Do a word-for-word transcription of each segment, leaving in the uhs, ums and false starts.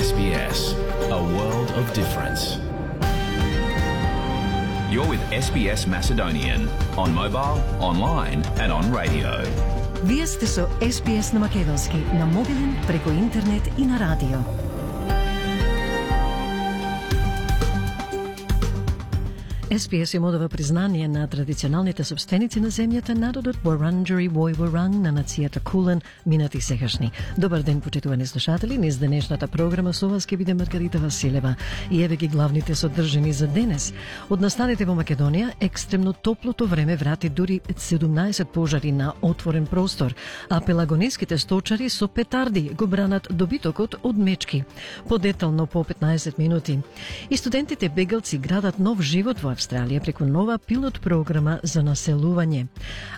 S B S, a world of difference. You're with S B S Macedonian on mobile, online and on radio. Вие сте со С Б С на македонски, на мобилен, преку интернет и на радио. С Б С им одава признание на традиционалните собственици на земјата, народот Wurundjeri Woi Wurrung на нацијата Кулен, минати сегашни. Добар ден, почитувани слушатели, низ денешната програма со вас ќе биде Маргарита Василева. И еве ги главните содржини за денес. Од настаните во Македонија, екстремно топлото време врати дури седумнаесет пожари на отворен простор, а пелагониските сточари со петарди го бранат добитокот од мечки. Подетално по петнаесет минути. И студентите бегалци градат нов живот во Австралија преку нова пилот програма за населување.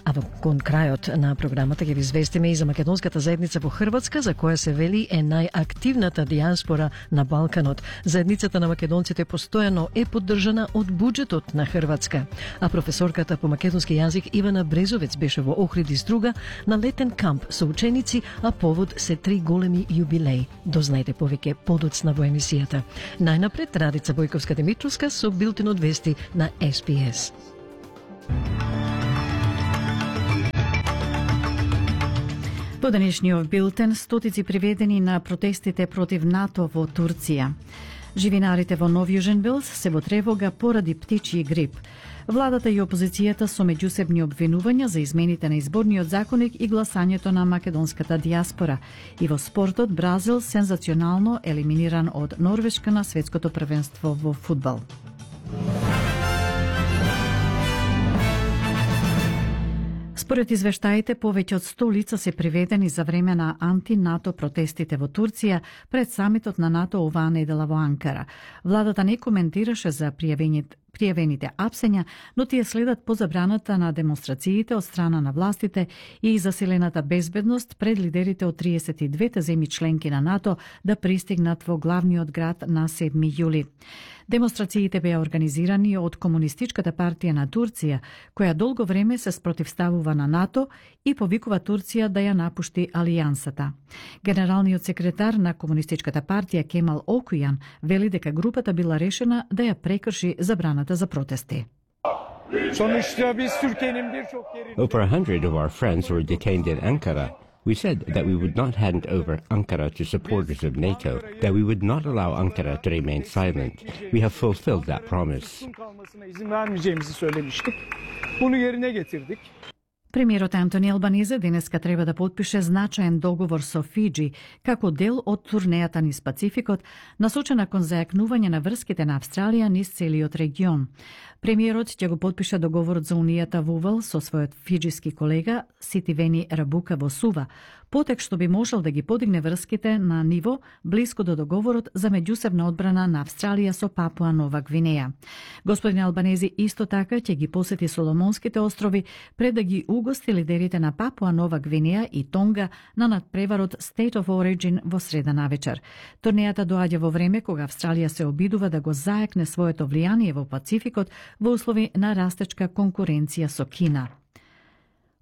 А во кон крајот на програмата ќе ви известиме и за македонската заедница во Хрватска, за која се вели е најактивната диаспора на Балканот. Заедницата на македонците постојано е поддржана од буџетот на Хрватска. А професорката по македонски јазик Ивана Брезовец беше во Охрид и Струга на летен камп со ученици, а повод се три големи јубилеи. Дознајте повеќе подоцна во емисијата. Најнапред Радица Бојковска-Димитровска со билтен од вести на С Б С. Во денешниот билтен, стотици приведени на протестите против НАТО во Турција. Живинарите во Нов Јужен Велс се во тревога поради птичји грип. Владата и опозицијата со меѓусебни обвинувања за измените на изборниот законник и гласањето на македонската диаспора. И во спортот, Бразил сензационално елиминиран од Норвешка на светското првенство во фудбал. Според извештаите, повеќе од сто лица се приведени за време на анти-НАТО протестите во Турција пред самитот на НАТО оваа недела во Анкара. Владата не коментираше за пријавените пријавените апсења, но тие следат по забраната на демонстрациите од страна на властите и засилената безбедност пред лидерите од триесет и двете земји членки на НАТО да пристигнат во главниот град на седми јули. Демонстрациите беа организирани од Комунистичката партија на Турција, која долго време се спротивставува на НАТО и повикува Турција да ја напушти алијансата. Генералниот секретар на Комунистичката партија Кемал Окујан вели дека групата била решена да ја прекрши забраната за протести. Over a hundred of our friends were detained in Ankara. We said that we would not hand over Ankara to supporters of NATO, that we would not allow Ankara to remain silent. We have fulfilled that promise. Премиерот Антони Албанезе денеска треба да подпише значаен договор со Фиџи како дел од турнејата низ Пацификот, насочена кон зајакнување на врските на Австралија низ целиот регион. Премиерот ќе го подпише договорот за унијата во Увал со својот фиџиски колега Ситивени Рабука во Сува, потек што би можел да ги подигне врските на ниво блиско до договорот за меѓусебна одбрана на Австралија со Папуа Нова Гвинеја. Господин Албанези исто така ќе ги посети Соломонските острови пред да ги угости лидерите на Папуа Нова Гвинеја и Тонга на надпреварот State of Origin во среда навечер. Турнејата доаѓа во време кога Австралија се обидува да го заекне своето влијание во Пацификот во услови на растечка конкуренција со Кина.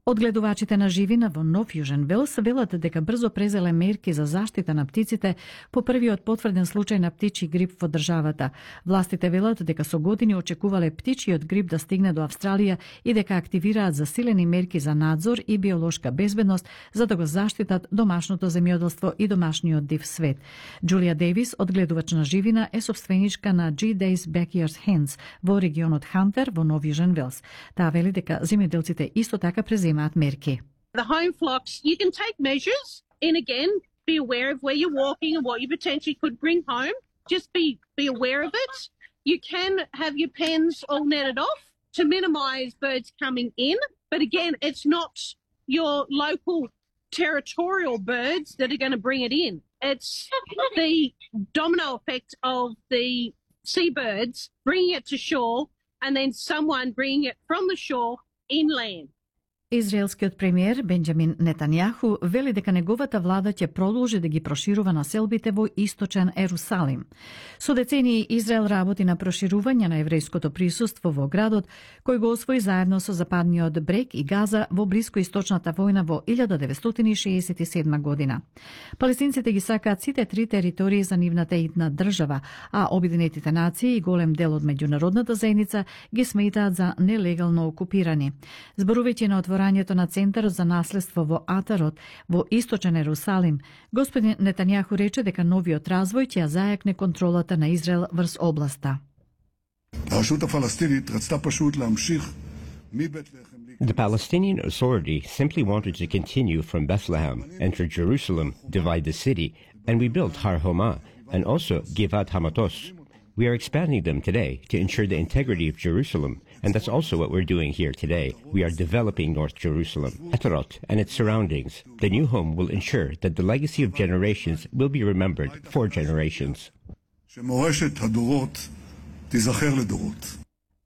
Одгледувачите на живина во Нов Јужен Велс велат дека брзо презеле мерки за заштита на птиците по првиот потврден случај на птичји грип во државата. Властите велат дека со години очекувале птичјиот грип да стигне до Австралија и дека активираат засилени мерки за надзор и биолошка безбедност за да го заштитат домашното земјоделство и домашниот див свет. Джулија Дейвис, одгледувач на живина, е собственичка на G Days Backyard Hens во регионот Хантер во Нов Јужен Велс. Таа вели дека земјоделците исто така преземаат мерки. The home flocks, you can take measures and again, be aware of where you're walking and what you potentially could bring home. Just be, be aware of it. You can have your pens all netted off to minimise birds coming in. But again, it's not your local territorial birds that are going to bring it in. It's the domino effect of the seabirds bringing it to shore and then someone bringing it from the shore inland. Израелскиот премиер Бенџамин Нетањаху вели дека неговата влада ќе продолжи да ги проширува населбите во источен Ерусалим. Со децении Израел работи на проширување на еврејското присуство во градот, кој го освои заедно со Западниот брег и Газа во блискоисточната војна во илјада деветстотини шеесет и седма година. Палестинците ги сакаат сите три територии за нивната идна држава, а Обединетите нации и голем дел од меѓународната заедница ги сметаат за нелегално окупирани. Зборувајќи на отворањето на Центарот за наследство во Атарот во источен Ерусалим, господин Нетањаху рече дека новиот развој ќе ја зајакне контролата на Израел врз областа. The Palestinian Authority simply wanted to continue from Bethlehem, enter Jerusalem, divide the city, and we built Har Homa and also Givat Hamatos. We are expanding them today to ensure the integrity of Jerusalem, and that's also what we're doing here today. We are developing North Jerusalem, Atarot, and its surroundings. The new home will ensure that the legacy of generations will be remembered for generations.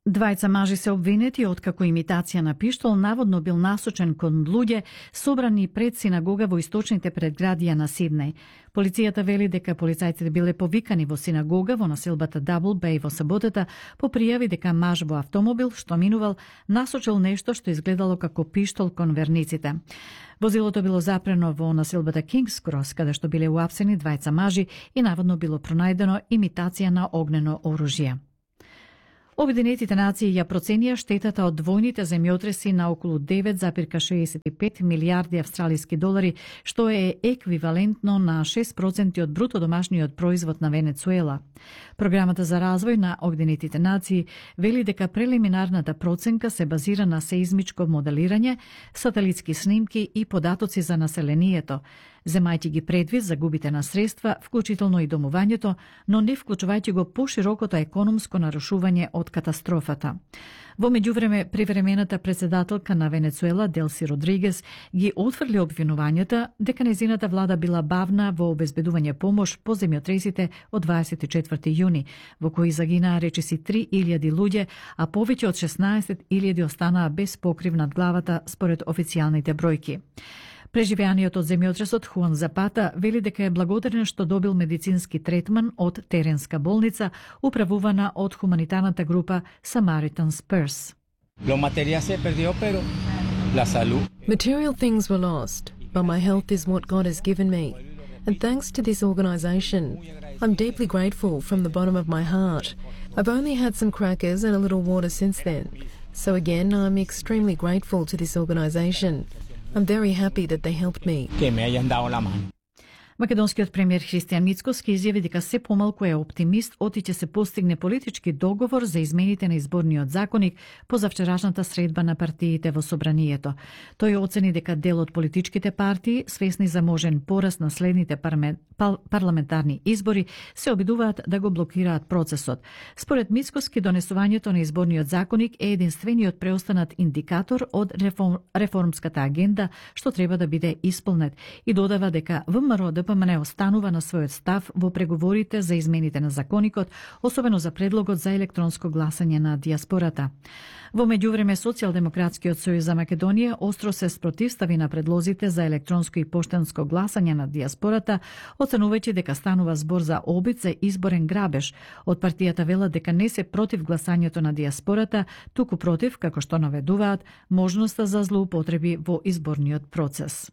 Двајца мажи се обвинети откако имитација на пиштол наводно бил насочен кон луѓе собрани пред синагога во источните предградија на Сиднеј. Полицијата вели дека полицајците биле повикани во синагога во населбата Дабл Беј во саботата по пријави дека маж во автомобил што минувал насочил нешто што изгледало како пиштол кон верниците. Возилото било запрено во населбата Кингс Крос, каде што биле уапсени двајца мажи и наводно било пронајдено имитација на огнено оружје. Обединетите нации ја проценија штетата од двојните земјотреси на околу девет зарез шеесет и пет милијарди австралиски долари, што е еквивалентно на шест проценти од бруто домашниот производ на Венецуела. Програмата за развој на Обединетите нации вели дека прелиминарната проценка се базира на сеизмичко моделирање, сателитски снимки и податоци за населението, земајќи ги предвид загубите на средства, вклучително и домувањето, но не вклучувајќи го поширокото економско нарушување од катастрофата. Во меѓувреме, привремената председателка на Венецуела, Делси Родригес, ги отфрли обвинувањата дека нејзината влада била бавна во обезбедување помош по земјотресите од дваесет и четврти јуни, во кои загинаа речиси три илјади луѓе, а повеќе од шеснаесет илјади останаа без покрив над главата според официјалните бројки. Преживеаниот од земјотресот Хуан Запата вели дека е благодарен што добил медицински третман од теренска болница управувана од хуманитарната група Samaritan's Purse. Material things were lost, but my health is what God has given me. And thanks to this organisation, I'm deeply grateful from the bottom of my heart. I've only had some crackers and a little water since then. So again, I'm extremely grateful to this organisation. I'm very happy that they helped me. Македонскиот премиер Христијан Мицкоски изјави дека се помалку е оптимист оти ќе се постигне политички договор за измените на изборниот законник по завчерашната средба на партиите во собранието. Тој оцени дека дел од политичките партии, свесни за можен пораст на следните парламентарни избори, се обидуваат да го блокираат процесот. Според Мицкоски, донесувањето на изборниот законник е единствениот преостанат индикатор од реформ, реформската агенда што треба да биде исполнет и додава дека ВМРО ДПМН останува на својот став во преговорите за измените на законникот, особено за предлогот за електронско гласање на дијаспората. Во меѓувреме, Социјалдемократскиот сојуз за Македонија остро се спротивстави на предлозите за електронско и поштенско гласање на дијаспората, оценувајќи дека станува збор за обид за изборен грабеж. Од партијата велат дека не се против гласањето на дијаспората, туку против, како што наведуваат, можноста за злоупотреби во изборниот процес.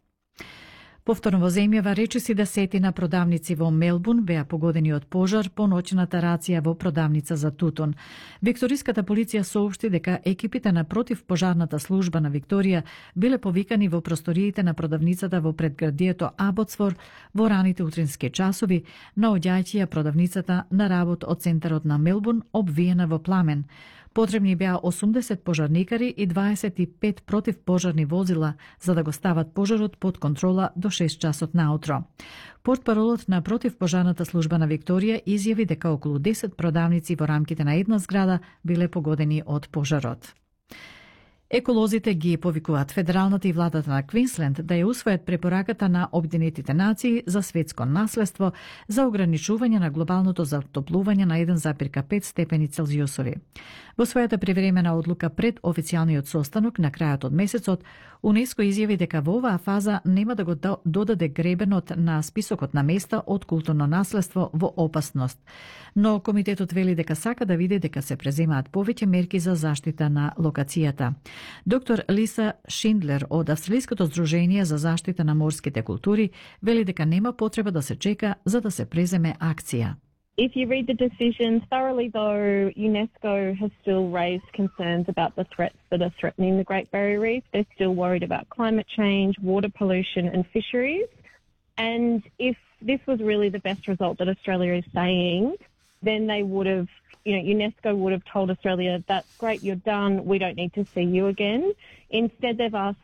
Повторно во земјава речиси десетина продавници во Мелбурн беа погодени од пожар по ноќната рација во продавница за тутун. Викториската полиција соопшти дека екипите на противпожарната служба на Викторија биле повикани во просториите на продавницата во предградието Абоцвор во раните утрински часови, наоѓајќи ја продавницата на работ од центарот на Мелбурн обвиена во пламен. Потребни беа осумдесет пожарникари и дваесет и пет противпожарни возила за да го стават пожарот под контрола до шест часот наутро. Портпаролот на противпожарната служба на Викторија изјави дека околу десет продавници во рамките на една зграда биле погодени од пожарот. Еколозите ги повикуваат федералната и владата на Квинсленд да ја усвојат препораката на Обединетите нации за светско наследство за ограничување на глобалното затоплување на еден зарез пет степени Целзиусови. Во својата привремена одлука пред официјалниот состанок на крајот од месецот, УНЕСКО изјави дека во оваа фаза нема да го додаде гребенот на списокот на места од културно наследство во опасност. Но комитетот вели дека сака да види дека се преземаат повеќе мерки за заштита на локацијата. Доктор Лиса Шиндлер од Австралиското здружение за заштита на морските култури вели дека нема потреба да се чека за да се преземе акција. If you read the decision thoroughly, though, UNESCO has still raised concerns about the threats that are threatening the Great Barrier Reef. They're still worried about climate change, water pollution and fisheries. And if this was really the best result that Australia is saying, then they would have, you know, UNESCO would have told Australia, that's great, you're done, we don't need to see you again. Instead, they've asked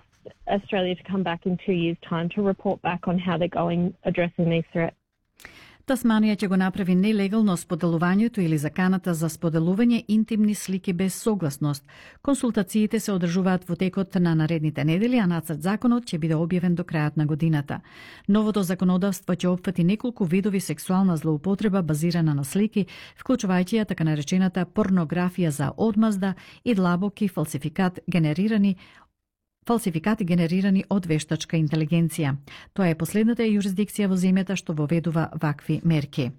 Australia to come back in two years' time to report back on how they're going addressing these threats. Тасманија ќе го направи нелегално споделувањето или заканата за споделување интимни слики без согласност. Консултациите се одржуваат во текот на наредните недели, а нацрт законот ќе биде објавен до крајот на годината. Новото законодавство ќе опфати неколку видови сексуална злоупотреба базирана на слики, вклучувајќи ја така наречената порнографија за одмазда и длабоки фалсификат генерирани фалсификати генерирани од вештачка интелигенција. Тоа е последната јурисдикција во земјата што воведува вакви мерки.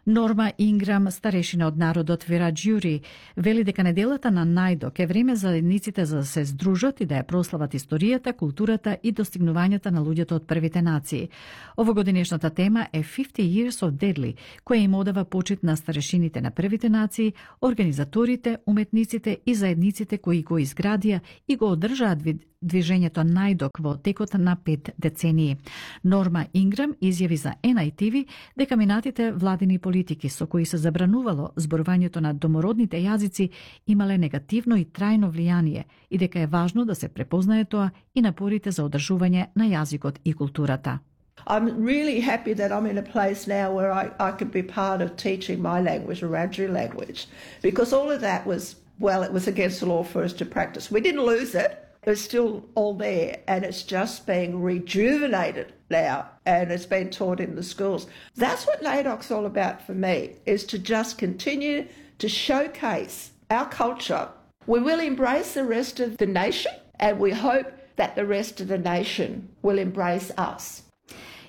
Норма Инграм, старешина од народот Вираџјури, вели дека неделата на Најдок е време за заедниците за да се здружат и да ја прослават историјата, културата и достигнувањата на луѓето од првите нации. Овогодинешната тема е fifty years of Deadly, која им одава почит на старешините на првите нации, организаторите, уметниците и заедниците кои го изградија и го одржаат движењето Најдок во текот на пет децении. Норма Инграм изјави за Ен Ај Ти Ви дека минатите владини политики со кои се забранувало зборувањето на домородните јазици имале негативно и трајно влијание и дека е важно да се препознае тоа и напорите за одржување на јазикот и културата. I'm really happy that I'm in a place now where I, I could be part of teaching my language, Wiradjuri language, because all of that was, well, it was against the law for us to practice. We didn't lose it. It's still all there, and it's just being rejuvenated now, and it's been taught in the schools. That's what NAIDOC's all about for me, is to just continue to showcase our culture. We will embrace the rest of the nation, and we hope that the rest of the nation will embrace us.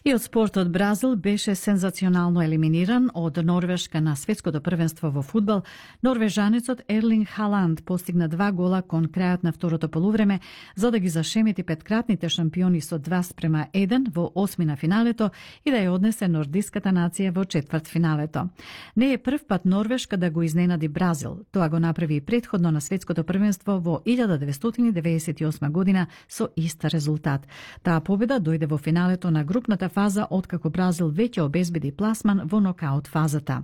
И од спортот Бразил беше сензационално елиминиран од Норвешка на светското првенство во фудбал. Норвежанецот Ерлинг Халанд постигна два гола кон крајот на второто полувреме за да ги зашемети петкратните шампиони со два спрема еден во осми на финалето и да ја однесе нордиската нација во четврт финалето. Не е прв пат Норвешка да го изненади Бразил. Тоа го направи и претходно на светското првенство во илјада деветстотини деветдесет и осма година со ист резултат. Таа победа дојде во финалето на групната фаза, откако Бразил веќе обезбеди пласман во нокаут фазата.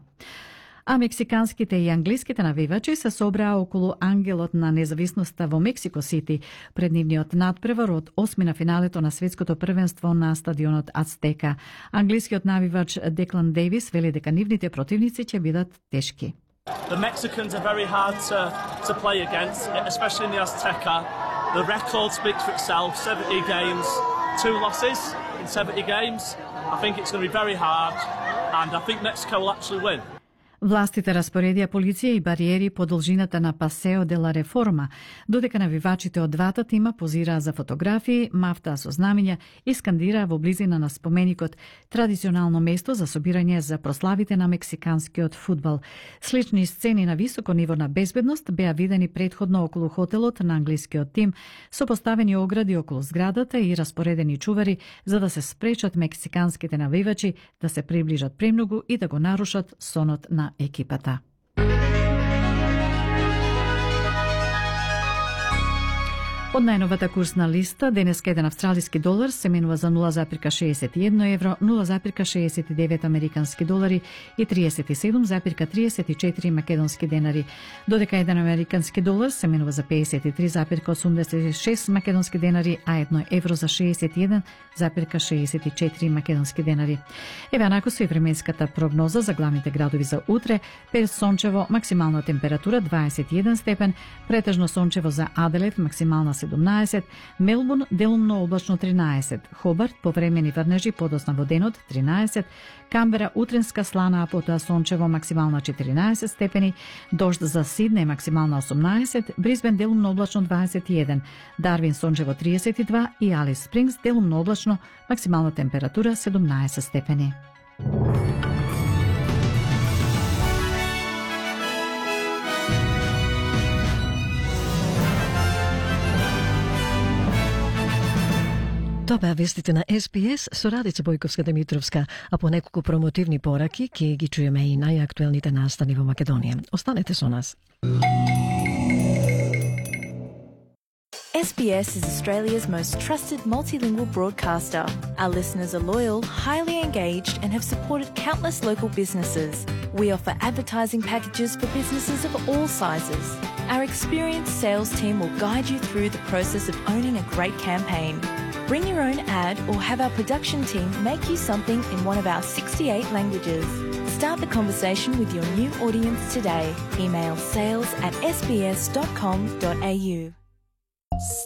А мексиканските и англиските навивачи се собраа околу ангелот на независноста во Мексико Сити пред нивниот надпревар од осми на финалето на светското првенство на стадионот Ацтека. Англискиот навивач Деклан Дейвис вели дека нивните противници ќе бидат тешки. The Mexicans are very hard to, to play against, especially in the Azteca. The record speaks for itself, seventy games, two losses in seventy games. I think it's going to be very hard, and I think Mexico will actually win. Властите распоредија полиција и бариери по должината на Пасео де ла Реформа, додека навивачите од двата тима позираа за фотографии, мафтаа со знамиња и скандираа во близина на споменикот, традиционално место за собирање за прославите на мексиканскиот фудбал. Слични сцени на високо ниво на безбедност беа видени претходно околу хотелот на англискиот тим, со поставени огради околу зградата и распоредени чувари за да се спречат мексиканските навивачи да се приближат премногу и да го нарушат сонот на екипата. Од најновата курсна листа, денеска еден австралиски долар се менува за нула зарез шеесет и едно евро, нула зарез шеесет и девет американски долари и триесет и седум зарез триесет и четири македонски денари, додека еден американски долар се менува за пеесет и три зарез осумдесет и шест македонски денари, а едно евро за шеесет и еден зарез шеесет и четири македонски денари. Еве анако со и временската прогноза за главните градови за утре: Перс сончево, максимална температура дваесет и еден степен, претежно сончево за Аделаид, максимална седумнаесет, Мелбурн делумно облачно тринаесет, Хобарт повремени врнежи подосна во денот тринаесет, Камбера утренска слана, а потоа сончево, максимална четиринаесет степени, дожд за Сиднеј максимална осумнаесет, Брисбен делумно облачно дваесет и еден, Дарвин сончево триесет и два и Алис Спрингс делумно облачно, максимална температура седумнаесет степени. Тоа беа вестите на Ес Би Ес со Радица Бојковска-Демитровска, а по неколку промотивни пораки ќе ги чуеме и најактуелните настани во Македонија. Останете со нас. S B S is Australia's most trusted multilingual broadcaster. Our listeners are loyal, highly engaged, and have supported countless local businesses. We offer advertising packages for businesses of all sizes. Our experienced sales team will guide you through the process of owning a great campaign. Bring your own ad or have our production team make you something in one of our sixty-eight languages. Start the conversation with your new audience today. Email sales at s b s dot com dot a u.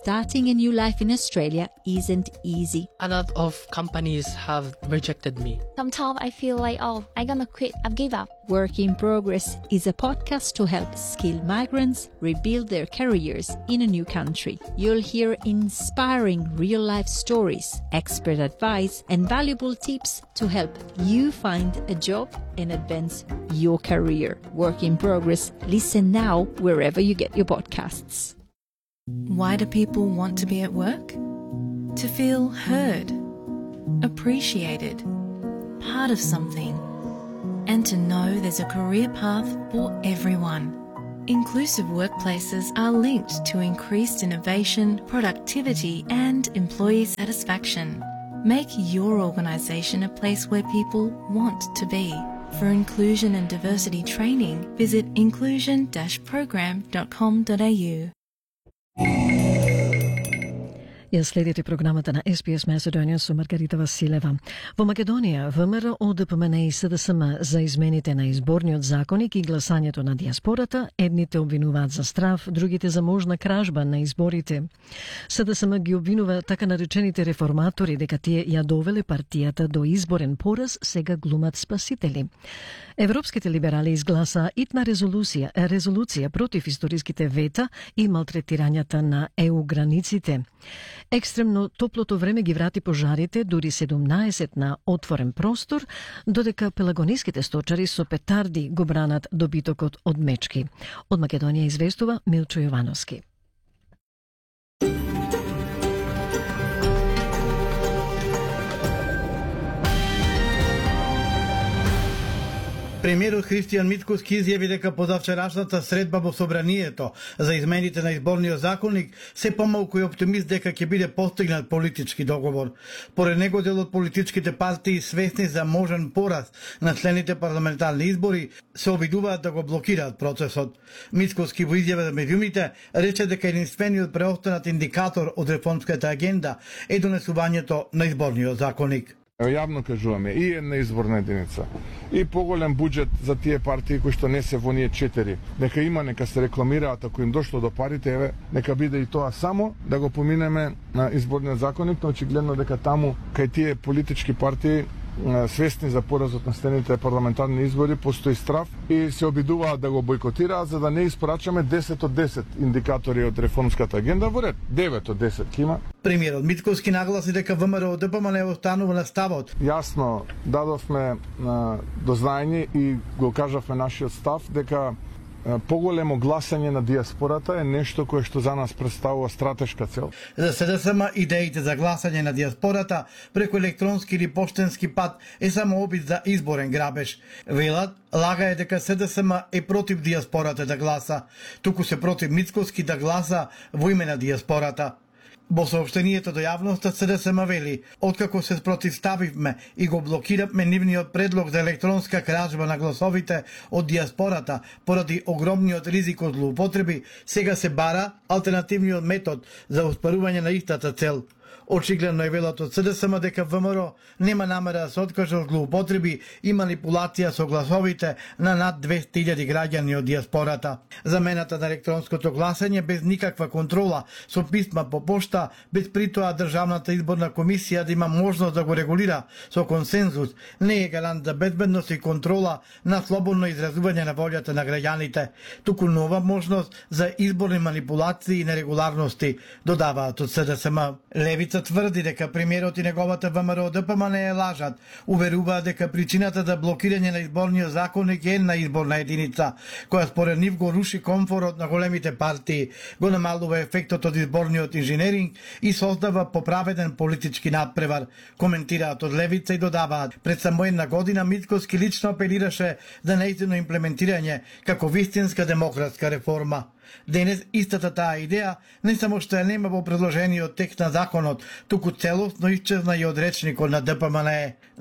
Starting a new life in Australia isn't easy. A lot of companies have rejected me. Sometimes I feel like, oh, I'm gonna quit, I've give up. Work in Progress is a podcast to help skilled migrants rebuild their careers in a new country. You'll hear inspiring real-life stories, expert advice, and valuable tips to help you find a job and advance your career. Work in Progress. Listen now wherever you get your podcasts. Why do people want to be at work? To feel heard, appreciated, part of something, and to know there's a career path for everyone. Inclusive workplaces are linked to increased innovation, productivity, and employee satisfaction. Make your organisation a place where people want to be. For inclusion and diversity training, visit inclusion dash program dot com dot a u. Ја следите програмата на Ес Би Ес Macedonian со Маргарита Василева. Во Македонија, ВМРО, О Д П М Н и С Д С М за измените на изборниот законник и гласањето на диаспората, едните обвинуваат за страф, другите за можна кражба на изборите. С Д С М ги обвинува така наречените реформатори дека тие ја довеле партијата до изборен пораз, сега глумат спасители. Европските либерали изгласаа итна резолуција, резолуција против историските вета и малтретирањата на Е У границите. Екстремно топлото време ги врати пожарите дури седумнаесет на отворен простор, додека пелагониските сточари со петарди го бранат добитокот од мечки. Од Македонија известува Милчо Јовановски. Премиерот Христијан Мицкоски изјави дека позавчерашната средба во собранието за измените на изборниот законник се помалку и оптимист дека ќе биде постигнат политички договор. Поред него, дел од политичките партии свесни за можен пораз на следните парламентарни избори се обидуваат да го блокираат процесот. Мицкоски во изјава за медиумите рече дека единствениот преостанат индикатор од реформската агенда е донесувањето на изборниот законник. Јавно кажуваме, и една изборна единица, и поголем буџет за тие партии кои што не се во ние четири. Нека има, нека се рекламираат, ако им дошло до парите, еве, нека биде и тоа само да го поминеме на изборниот законник, но очигледно дека таму кај тие политички партии свесни за поразот на следните парламентарни избори постои страф и се обидуваат да го бойкотираат за да не испорачаме десет од десет индикатори од реформската агенда во ред. девет од десет кима. Премиерот Мицкоски нагласи дека ВМРО Д П М Н останува на ставот. Јасно дадовме до знаење и го кажавме нашиот став дека поголемо гласање на диаспората е нешто кое што за нас представува стратешка цел. За СДСМ идеите за гласање на диаспората преку електронски или поштенски пат е само обид за изборен грабеж. Велат, лага е дека СДСМ е против диаспората да гласа, туку се против Мицкоски да гласа во име на диаспората. Во сообщението до јавноста СДСМ вели, откако се спротивставивме и го блокиравме нивниот предлог за електронска кражба на гласовите од диаспората поради огромниот ризик од злоупотреби, сега се бара алтернативниот метод за оспарување на истата цел. Очигледно е велат од СДСМ дека ВМРО нема намера да се откаже од злоупотреби и манипулација со гласовите на над двесте илјади граѓани од диаспората. Замената на електронското гласање без никаква контрола со писма по пошта, без притоа Државната изборна комисија да има можност да го регулира со консензус, не е гарант за безбедност и контрола на слободно изразување на волјата на граѓаните, туку нова можност за изборни манипулации и нерегуларности, додаваат од СДСМ. Левица тврди дека премиерот и неговата ВМРО ДПМН е лажат. Уверуваат дека причината за блокирање на изборниот законник е една изборна единица, која според нив го руши комфорот на големите партии, го намалува ефектот од изборниот инженеринг и создава поправеден политички надпревар, коментираат од Левица и додаваат. Пред само една година Мицкоски лично апелираше за нејзино имплементирање како вистинска демократска реформа. Денес истата таа идеја не само што ја нема во предложениот текст на законот, туку целосно исчезна и од речникот на ДПМН.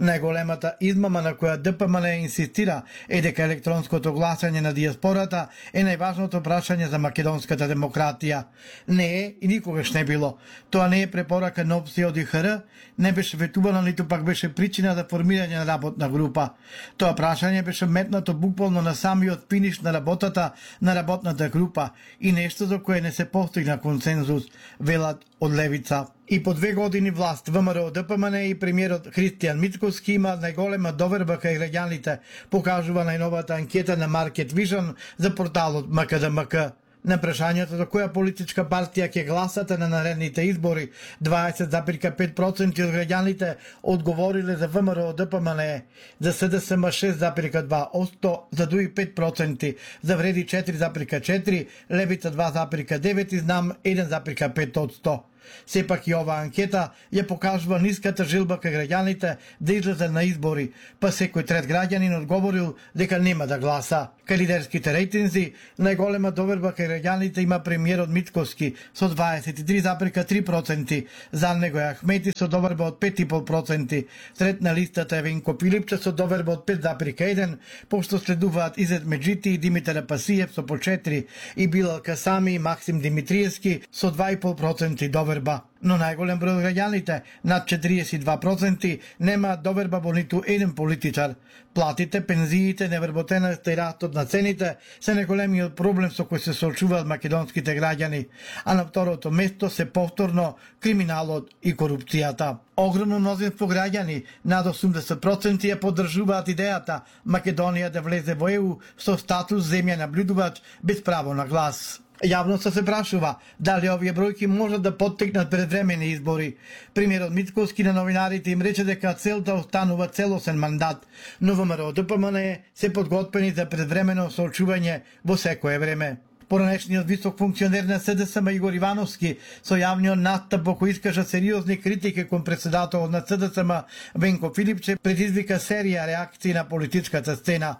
Најголемата измама на која ДПМН инсистира е дека електронското гласање на диаспората е најважното прашање за македонската демократија. Не е и никогаш не било. Тоа не е препорака на опција од ИХР, не беше ветувано ниту пак беше причина за формирање на работна група. Тоа прашање беше метнато буквално на самиот финиш на работата на работната група и нешто за кое не се постигна консензус, велат од Левица. И по две години власт ВМРО ДПМН и премиерот Христијан Мицкоски има најголема доверба кај граѓаните, покажува најновата анкета на Market Vision за порталот МКДМК. На прашањето за која политичка партија ќе гласате на наредните избори, дваесет запирка пет проценти од граѓаните одговориле за ВМРО ДПМН, за СДСМ шест запирка два проценти, за ДУИ пет проценти, за Вреди четири запирка четири, Левица два запирка девет и Знам еден запирка пет проценти. Сепак и оваа анкета ја покажува ниската желба кај граѓаните да излезат на избори, па секој трет граѓанин одговорил дека нема да гласа. Кај лидерските рейтинзи, најголема доверба кај граѓаните има премиерот Мицкоски со дваесет и три запирка три проценти, за него е Ахмети со доверба од пет и пол проценти, трет на листата е Венко Пилипче со доверба од пет запирка еден, пошто следуваат Изет Меджити и Димитар Апасиев со по четири и Билал Касами и Максим Димитриевски со два и пол проценти доверба. Но најголем број од граѓаните, над четириесет и два проценти, немаат доверба во ниту еден политичар. Платите, пензиите, невработеноста и растот на цените се најголемиот проблем со кој се соочуваат македонските граѓани, а на второто место се повторно криминалот и корупцијата. Огромно мнозинство граѓани, над осумдесет проценти, ја поддржуваат идејата Македонија да влезе во ЕУ со статус земја наблюдувач без право на глас. Јавноста се прашува дали овие бројки можат да поттекнат предвремени избори. Премиерот Мицкоски на новинарите им рече дека целта останува целосен мандат, но ВМРО ДПМН се подготвени за предвремено соочување во секое време. Поранешниот висок функционер на СДСМ Игор Ивановски со јавниот настап во кој искажа сериозни критики кон председателот на СДСМ Венко Филипче предизвика серија реакции на политичката сцена.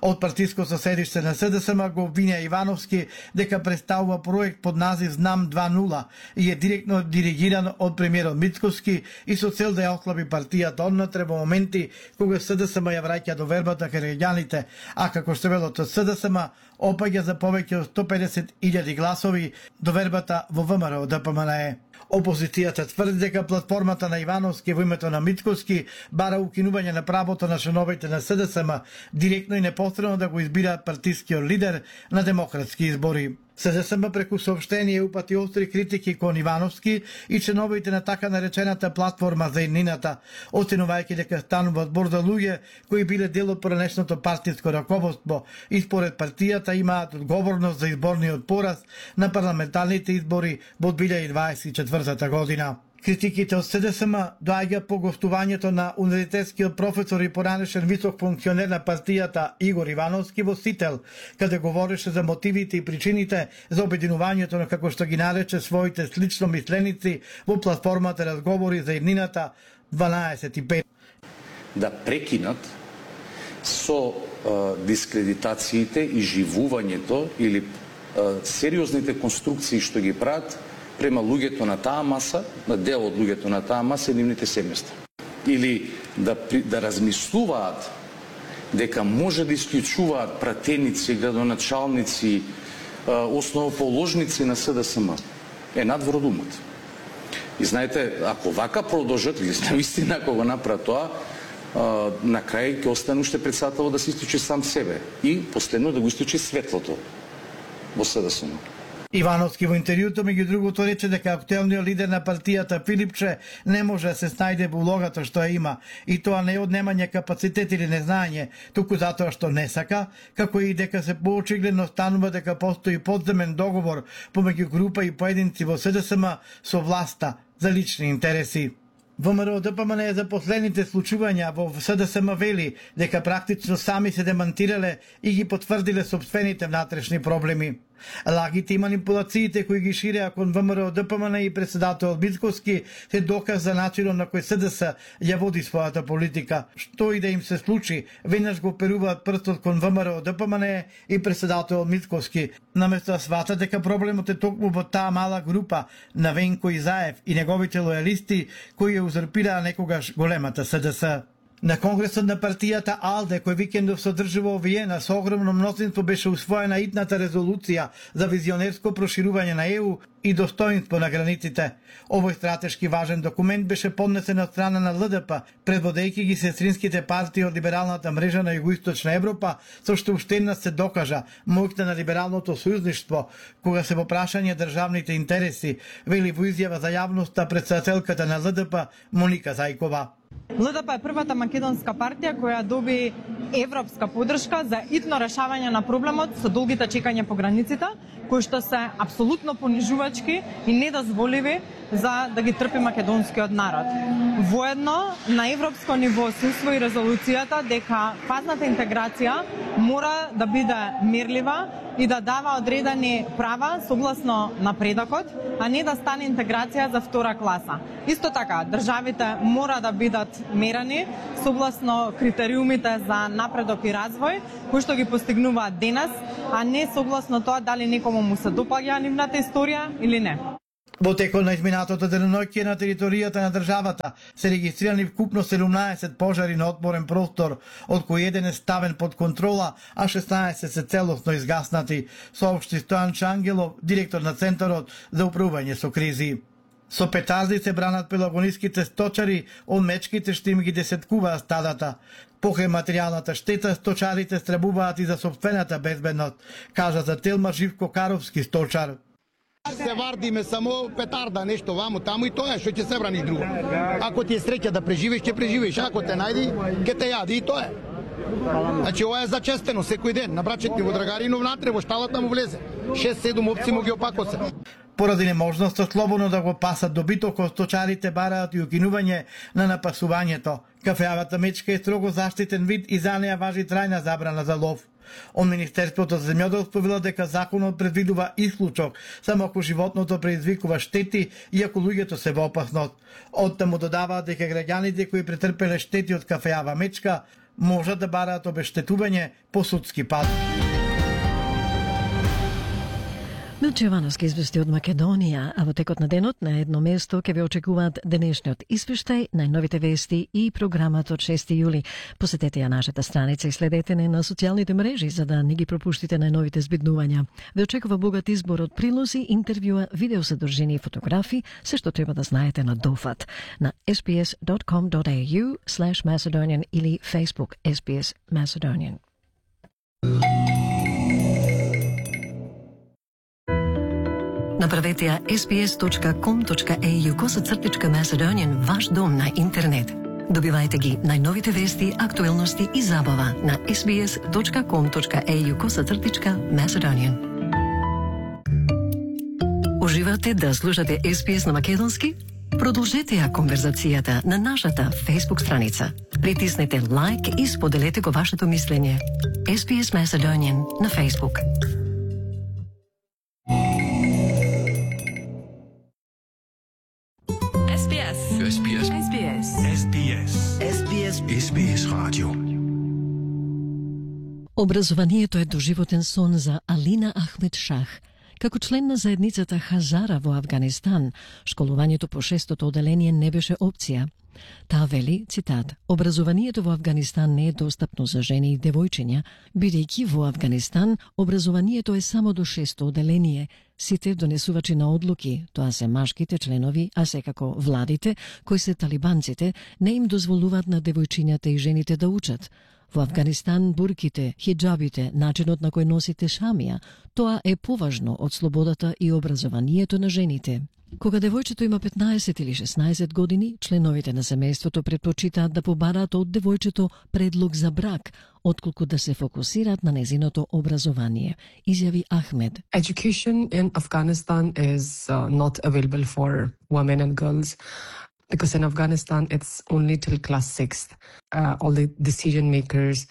Од партиско соседиште на СДСМ го обвинија Ивановски дека представува проект под назив Знам два нула и е директно диригиран од премиерот Мицкоски и со цел да ја охлаби партијата однатре во моменти кога СДСМ ја враќа довербата кај граѓаните, а како што велот од СДСМ опаѓа за повеќе од сто педесет илјади гласови довербата во ВМРО ДПМН. Опозицијата тврди дека платформата на Ивановски во името на Мицкоски бара укинување на правото на членовите на СДСМ директно и непосредно да го избираат партискиот лидер на демократски избори. СДСМ преку соопштение упати остри критики кон Ивановски и членовите на така наречената платформа за еднината, оценувајќи дека станува збор за луѓе кои биле дел од поранешното партиско раководство и според партијата имаат одговорност за изборниот пораз на парламентарните избори во две илјади дваесет и четвртата година. Критиките од СДСМ доаѓа по гостувањето на универзитетскиот професор и поранешен висок функционер на партијата Игор Ивановски во Сител, каде говореше за мотивите и причините за обединувањето на, како што ги нарече, своите слично мисленици во платформата разговори за иднината дванаесет и пет. Да прекинат со е, дискредитациите и живувањето или е, сериозните конструкции што ги прават према луѓето на таа маса, на дел од луѓето на таа маса и нивните семејства. Или да, да размислуваат дека може да исклучуваат пратеници, градоначалници, основоположници на СДСМ. Е надвор од умот. И знаете, ако вака продолжат, или наистина ако го направат тоа, на крај ќе остане уште председател да се исклучи сам себе и последно да го исклучи светлото во СДСМ. Ивановски во интервјуто меѓу другото рече дека актуелниот лидер на партијата Филипче не може да се снајде во улогата што ја има, и тоа не е однемање капацитет или незнаење, туку затоа што не сака, како и дека се поочигледно станува дека постои подземен договор помеѓу група и поединци во СДСМ со власта за лични интереси. ВМРО Д П М Н за последните случувања во СДСМ вели дека практично сами се демантирале и ги потврдиле собствените внатрешни проблеми. Лагите и манипулациите кои ги ширеа кон ВМРО Д П М Н и председател Мицкоски се доказ за начинот на кој СДС ја води својата политика. Што и да им се случи, веднаш го перуваат прстот кон ВМРО Д П М Н и председател Мицкоски, наместо да сватат дека проблемот е токму во таа мала група на Венко Изаев и неговите лојалисти кои ја узурпираа некогаш големата СДС. На конгресот на партијата АЛДЕ, кој викендов се одржи во Виена, со огромно мнозинство беше усвоена итната резолуција за визионерско проширување на Е У и достоинство на границите. Овој стратешки важен документ беше поднесен од страна на Л Д П, предводејќи ги сестринските партии од либералната мрежа на Југоисточна Европа, со што уште еднаш се докажа моќта на либералното сојузништво, кога се во прашање државните интереси, вели во изјава за јавноста председателката на Л Д П Моника Зајкова. Л Д П е првата македонска партија која доби европска поддршка за итно решавање на проблемот со долгите чекања по границите, кои што се апсолутно понижувачки и недозволиви за да ги трпи македонскиот народ. Воедно, на европско ниво се усвои резолуцијата дека фазната интеграција мора да биде мерлива и да дава одредени права согласно напредокот, а не да стане интеграција за втора класа. Исто така, државите мора да бидат мерени согласно критериумите за напредок и развој, кои што ги постигнуваат денес, а не согласно тоа дали некому му се допаѓа нивната историја или не. Во текот на изминатото деноноќие на територијата на државата се регистрирани вкупно седумнаесет пожари на отворен простор, од кои еден е ставен под контрола, а шеснаесет се целосно изгаснати, соопшти Стојан Чангелов, директор на Центарот за управување со кризи. Со петарди се бранат пелагониските сточари од мечките што им ги десеткуваат стадата. Покрај материјалната штета, сточарите страбуваат и за собствената безбедност, кажа за Телма Живко Каровски, сточар. Се вардиме само петарда, нешто вамо, таму и тоа е што ќе се брани друго. Ако ти е среќа да преживиш, ќе преживиш, ако те најди, ќе те јади и тоа е. Значи ова е зачестено секој ден, на брачет ни во Драгарино внатре во шталата му влезе. шест-седум опци му ги опакосе. Поради неможноста слободно да го пасат добитокот, сточарите бараат и укинување на напасувањето. Кафеавата мечка е строго заштитен вид и за неа важи трајна забрана за лов. Од Министерството за земјоделство вела дека законот предвидува исклучок само ако животното предизвикува штети и ако луѓето се во опасност. Оттаму додаваат дека граѓаните кои претрпеле штети од кафеава мечка можат да бараат обештетување по судски пат. Милче Јовановски извести од Македонија, а во текот на денот на едно место ќе ве очекуваат денешниот извештај, најновите вести и програмата од шести јули. Посетете ја нашата страница и следете не на социјалните мрежи за да не ги пропуштите најновите збиднувања. Ве очекува богат избор од прилози, интервјуа, видеосодржини и фотографии, се што треба да знаете на Дофат на ес би ес dot com dot a u slash macedonian или Facebook ес би ес Macedonian. Направете ја ес би ес dot com dot a u косацртичка Macedonian ваш дом на интернет. Добивајте ги најновите вести, актуелности и забава на ес би ес dot com dot a u косацртичка Macedonian. Уживате да слушате ес би ес на македонски? Продолжете ја конверзацијата на нашата Facebook страница. Притиснете лайк и споделете го вашето мислење. Ес Би Ес Macedonian на Facebook. Ес Би Ес. Ес Би Ес. Ес Би Ес. Ес Би Ес. Ес Би Ес. Ес Би Ес радио. Образованието е доживотен сон за Алина Ахмед Шах. Како член на заедницата Хазара во Авганистан, школувањето по шестото оделение не беше опција. Таа вели, цитат, образованието во Авганистан не е достапно за жени и девојчиња, бидејќи во Авганистан образованието е само до шесто оделение. Сите донесувачи на одлуки, тоа се машките членови, а секако владите, кои се талибанците, не им дозволуваат на девојчињата и жените да учат. Во Авганистан бурките, хиджабите, начинот на кој носите шамија, тоа е поважно од слободата и образованието на жените. Кога девојчето има петнаесет или шеснаесет години, членовите на семејството предпочитаат да побараат од девојчето предлог за брак, отколку да се фокусираат на незиното образование, изјави Ахмед. Education in Afghanistan is uh, not available for women and girls. Because in Afghanistan, it's only till class sixth. Uh, all the decision makers,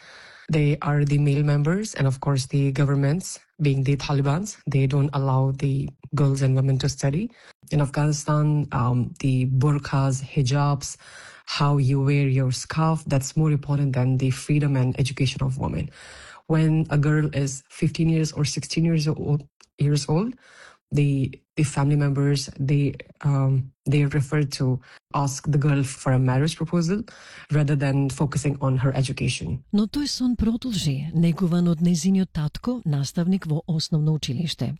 they are the male members, and of course the governments, being the Talibans, they don't allow the girls and women to study. In Afghanistan, um, the burqas, hijabs, how you wear your scarf, that's more important than the freedom and education of women. When a girl is fifteen years or sixteen years old, years old the the family members, they um, they refer to ask the girl for a marriage proposal rather than focusing on her education. Но тој сон продолжи, негуван од незиниот татко, наставник во основно училиште.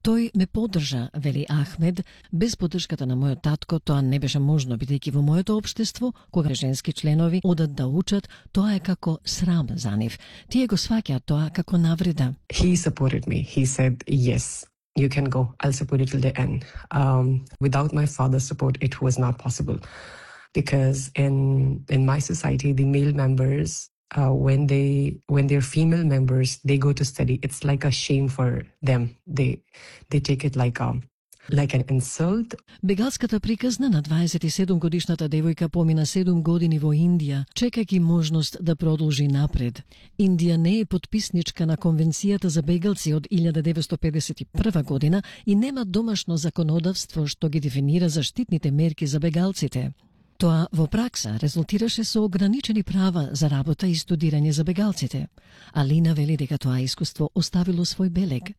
Тој ме поддржа, вели Ахмед, без поддршката на мојот татко тоа не беше можно, бидејќи во моето општество, кога женски членови одат да учат, тоа е како срам за нив. Тие го сваќаат тоа како навреда. He supported me. He said, yes, you can go. I'll support you till the end. Um, without my father's support, it was not possible. Because in in my society, the male members, uh, when they when they're female members, they go to study. It's like a shame for them. They they take it like a like an insult. Бегалската приказна на дваесет и седум годишната девојка помина седум години во Индија, чекајќи можност да продолжи напред. Индија не е потписничка на Конвенцијата за бегалци од илјада деветстотини педесет и прва година и нема домашно законодавство што ги дефинира заштитните мерки за бегалците. Тоа во пракса резултираше со ограничени права за работа и студирање за бегалците. Алина вели дека тоа искуство оставило свој белег.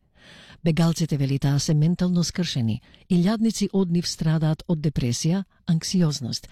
Бегалците, вели таа, се ментално скршени. Илјадници од нив страдаат од депресија, анксиозност.